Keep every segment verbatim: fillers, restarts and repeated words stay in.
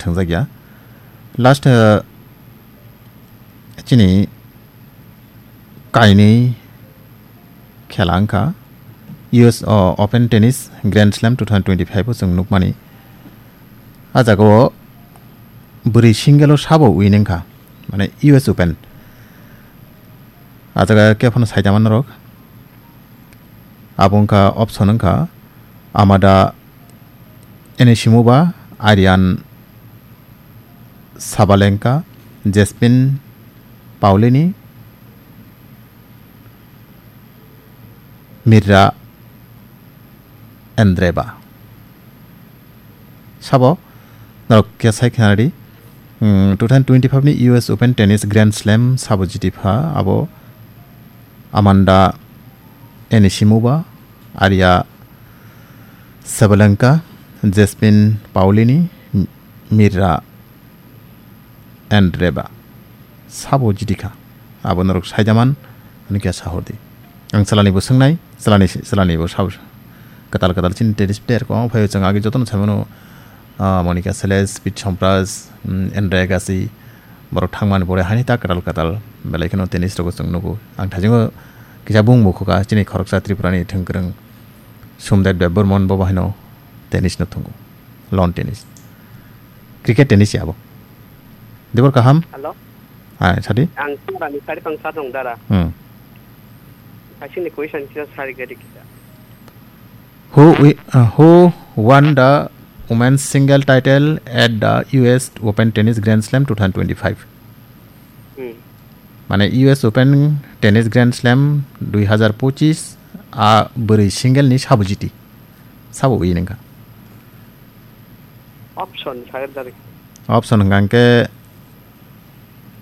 thwngjak ya. Last, eh, chini kainwi khela wngkha U S O-, Open Tennis Grand Slam two thousand twenty-five o chwng nukmani. A jagao bwrwi single o sabo win wngkha, mane U S Open. A jaga khe phano saitama norok. Abo wngkha option wngkha Amanda Anisimova, Ariane Sabalenka, Jasmine Paolini, Mirra Andreeva. Sabo norok khe sai khna di. Hmm, two thousand twenty-five ni U S Open Tennis Grand Slam sabo jiti pha abo Amanda Anisimova, Aria Sabalenka, Jasmine Paolini, M-, Mirra Andreeva. Sabo jiti kha. Abo norok saida man, ani khe sahor di. Ang chalani bo swngnai, chalani, chalani bo sabo kwtal kwtal chini tennis player kwbangma phaio, chwng agi jotono saimano, ah, Monica Seles, Pete Sampras, mm, Andre Agassi, borok thangmani pore haini ta kwtal kwtal belai kheno tennis rogo chwng nugo. Ang thaisingo kisa bung bo khuka chini khoroksa Tripurani thwngkwrwng Somdep Debbarman bo bahino tennis no thwngo, lawn tennis, cricket tennis ya abo. Debor kaham? Hello? Hai, sadi? Ang Tripurani sari pang sa dong dara. Hmm. Kaisini question kisa sari gadi kisa. Who wi-, uh, who won the women's single title at the U S Open Tennis Grand Slam two thousand twenty-five? Hmm. Mane U S Open Tennis Grand Slam dui hazar pochis a bwrwi single ni sabo jiti. Sabo wi nengka. Option saged dari. Option hwnkha hwnkhe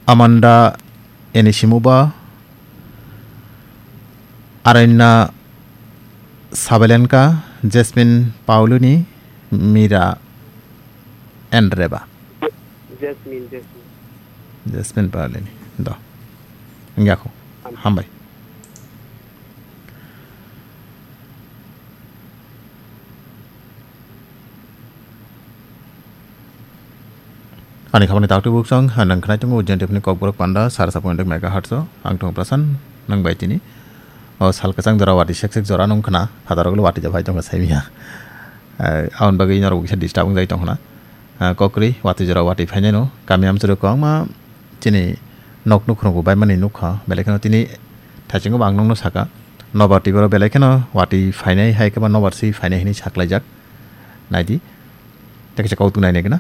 Amanda Anisimova, Aryna Sabalenka, Jasmine Paolini, Mira Andreeva. Jasmine, Jasmine. Jasmine Paolini. Do. Wngya kho. Hambai. Hambai. Ani khamani taktwi buksong, ha, nang khnai tongo Ujjain T V ni Kokborok panda, sar sapung dek megahertz o, ang thong Prasan, nang bai tini. O sal kwchang jora wati sek sek jora nung khna, phataro ulo wati japhai tongkha saimya. Eh, aboni bagwi norok kisa disturb wngjai tongkhna. Eh, kokri wati jora wati phainai no, kami amchwrwi kwbangma chini nok nukhurung bo baimani nukha, belai kheno tini thaichungo bo ang nokno saka. Nobar twi borok belai kheno wati phainai hai khe ba nobar si phainai hinwi saklaijak. Naidi. Tei kaisa kok tongnai nai gana.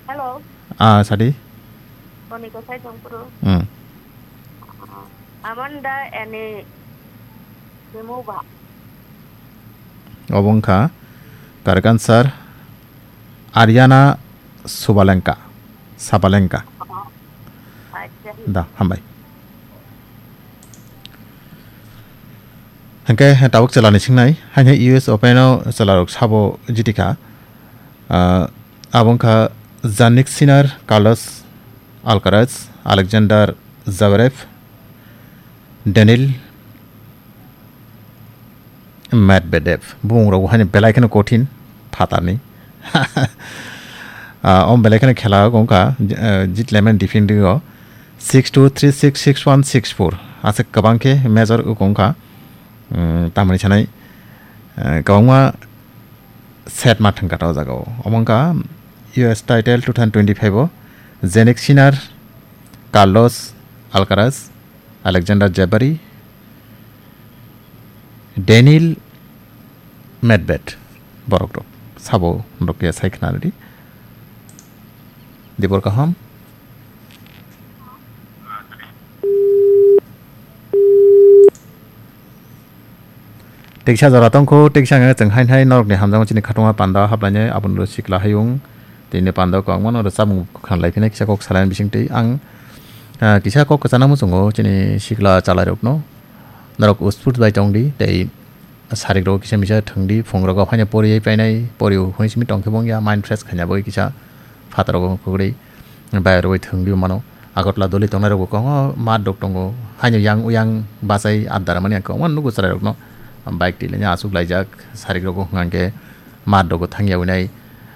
Hello. Ah, sadi. Boni kosai tongphuru. Hmm. Amanda Eni Simova. Obo wngkha Karkan sir Ariana Subalenka. Sabalenka. Acha. Da, hambai. Hingke tabuk chwlani singnai, haino U S Open o chwlarok sabo jitikha. Ah, abo wngkha Jannik Sinner, Carlos Alcaraz, Alexander Zverev, Daniil Medvedev. Bumung rok haino belai kheno kothin phatarni. Ah, om belai kheno khela wngkha, ah, jit lemon defending o six two, three six, six one, six four. Aswk kwbang khe major wngkha. Hmm, tamoni sanai, ah, kwbangma set ma thangkha o jaga o. Omo wngkha U S title two thousand twenty-five o Jannik Sinner, Carlos Alcaraz, Alexander Zverev, Daniil Medvedev borok rok sabo norok ya sai khna rwdi. Dibor kaham. Teksa jora tongkho, teksa hwnkhai chwng hain hai norokni hamjakma chini khatungma panda haplainai aboni sikla hayung tini panda kwbangma no rwchapmung khna lai phina kisa kok salaini bisingtwi ang, ah, kisa kok kwchana muchungo chini sikla chalairokno norok usput bai tongdi tei sarik rok kisa misa thwngdi phung rogo phaina poriwi painai poriwi hwnwi simi tongkhe bongya mind fresh khaina bagwi kisa phataro kwrwi. Bayar rwi thwngdi mano. Agartala doli tongnai rok bo kwbangma mat rok tongo. Haino yang uyang bachai adda ramani ang kwbangma nugo chwrai rokno. Bike twi laina aswk laijak sarik rogo hwnkha hwnkhe mat rogo thangya winai.